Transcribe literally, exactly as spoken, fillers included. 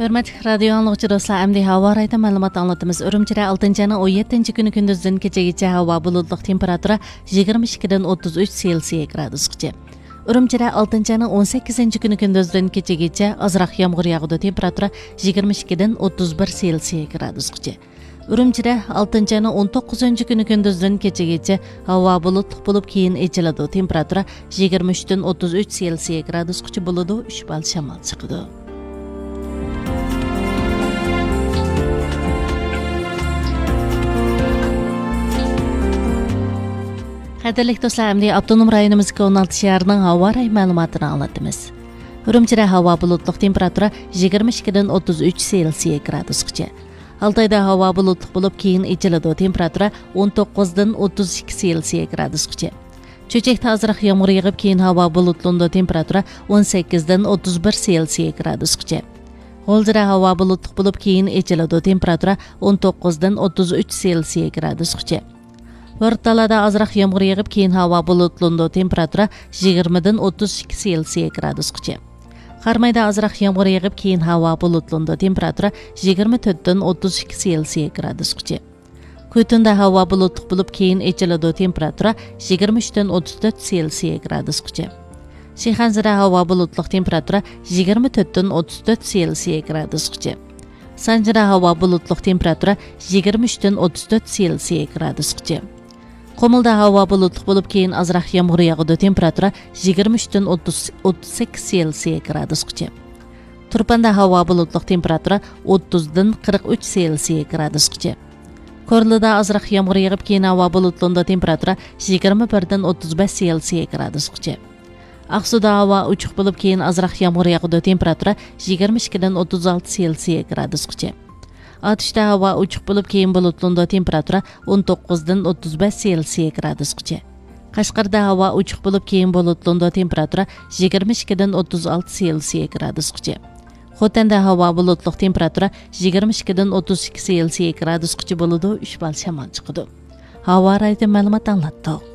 ھۆرمەتلىك رادىيو ئاڭلىغۇچى دوستلار، ئەمدى ھاۋا رايىدا مەلۇمات ئاڭلىتىمىز. ئۈرۈمچىدە ئالتىنچى ئاينىڭ ئون يەتتىنچى كۈنى كۈندۈزدىن كېچىگىچە ھاۋا بۇلۇتلۇق، تېمپېراتۇرا يىگىرمە ئىككىدىن ئوتتۇز ئۈچ سېلسىيە گرادۇسقىچە. ئۈرۈمچىدە ئالتىنچى ئاينىڭ ئون سەككىزىنچى كۈنى كۈندۈزدىن كېچىگىچە ئازراق يامغۇر ياغىدۇ، تېمپېراتۇرا يىگىرمە ئىككىدىن ئوتتۇز بىر سېلسىيە گرادۇسقىچە. ئۈرۈمچىدە ئالتىنچى ئاينىڭ ئون توققۇزىنچى كۈنى كۈندۈزدىن كېچىگىچە ھاۋا بۇلۇتلۇق بولۇپ، كېيىن ئېچىلىدۇ، تېمپېراتۇرا يىگىرمە ئۈچتىن ئوتتۇز ئۈچ سېلسىيە گرادۇسقىچە بولىدۇ، ئۈچ بال شامال چىقىدۇ. قەدىرلىك دوستلار، ئەمدى ئاپتونوم رايونىمىزدىكى ئون ئالتە شەھەرنىڭ ھاۋا رايى مەلۇماتىنى ئاڭلاتىمىز. ئۈرۈمچىدە ھاۋا بۇلۇتلۇق، تېمپېراتۇرا يىگىرمە ئىككىدىن ئوتتۇز ئۈچ سېلسىيە گرادۇسقىچە. ئالتايدا ھاۋا بۇلۇتلۇق بولۇپ، كېيىن ئېچىلىدۇ، تېمپېراتۇرا ئون توققۇزدىن ئوتتۇز ئىككى سېلسىيە گرادۇسقىچە. چۆچەكتە ئازراق يامغۇر يېغىپ، كېيىن ھاۋا بۇلۇتلىنىدۇ، تېمپېراتۇرا ئون سەككىزدىن ئوتتۇز بىر سېلسىيە گرادۇسقىچە. غۇلجىدا ھاۋا بۇلۇتلۇق بولۇپ، كېيىن ئېچىلىدۇ، تېمپېراتۇرا ئون توققۇزدىن ئوتتۇز ئۈچ سېلسىيە گرادۇسقىچە. ھۆرتالىدا ئازراق يامغۇر يېغىپ، كېيىن ھاۋا بۇلۇتلىنىدۇ، تېمپېراتۇرا يىگىرمىدىن ئوتتۇز ئىككى سېلسىيە گرادۇسقىچە. قارامايدا ئازراق يامغۇر يېغىپ، كېيىن ھاۋا بۇلۇتلىنىدۇ، تېمپېراتۇرا يىگىرمە تۆتتىن ئوتتۇز ئىككى سېلسىيە گرادۇسقىچە. كۈتۈندە ھاۋا بۇلۇتلۇق بولۇپ، كېيىن ئېچىلىدۇ، تېمپېراتۇرا يىگىرمە ئۈچتىن ئوتتۇز تۆت سېلسىيە گرادۇسقىچە. شىخەنزىدە ھاۋا بۇلۇتلۇق، تېمپېراتۇرا يىگىرمە تۆتتىن ئوتتۇز تۆت سېلسىيە گرادۇسقىچە. سانجىدا ھاۋا بۇلۇتلۇق، تېمپېراتۇرا يىگىرمە ئۈچتىن ئوتتۇز تۆت سېلسىيە گرادۇسقىچە. قۇمۇلدا ھاۋا بۇلۇتلۇق بولۇپ، كېيىن ئازراق يامغۇر ياغىدۇ، تېمپېراتۇرا يىگىرمە ئۈچتىن ئوتتۇز، ئوتتۇز سەككىز سېلسىيە گرادۇسقىچە. تۇرپاندا ھاۋا بۇلۇتلۇق، تېمپېراتۇرا ئوتتۇزدىن قىرىق ئۈچ سېلسىيە گرادۇسقىچە. كورلىدا ئازراق يامغۇر يېغىپ، كېيىن ھاۋا بۇلۇتلىنىدۇ، تېمپېراتۇرا يىگىرمە بىردىن ئوتتۇز بەش سېلسىيە گرادۇسقىچە. ئاقسۇدا ھاۋا ئوچۇق بولۇپ، كېيىن ئازراق يامغۇر ياغىدۇ، تېمپېراتۇرا يىگىرمە ئىككىدىن ئوتتۇز ئالتە سېلسىيە گرادۇسقىچە. ئاتۇشتا ھاۋا ئوچۇق بولۇپ، كېيىن بۇلۇتلىنىدۇ، تېمپېراتۇرا ئون توققۇزدىن ئوتتۇز بەش سېلسىيە گرادۇسقىچە. قەشقەردە ھاۋا ئوچۇق بولۇپ، كېيىن بۇلۇتلىنىدۇ، تېمپېراتۇرا يىگىرمە ئىككىدىن ئوتتۇز ئالتە سېلسىيە گرادۇسقىچە. خوتەندە ھاۋا بۇلۇتلۇق، تېمپېراتۇرا يىگىرمە ئىككىدىن ئوتتۇز ئىككى سېلسىيە گرادۇسقىچە بولىدۇ، ئۈچ بال شامال چىقىدۇ. ھاۋا رايىدىن مەلۇمات ئاڭلاتتۇق.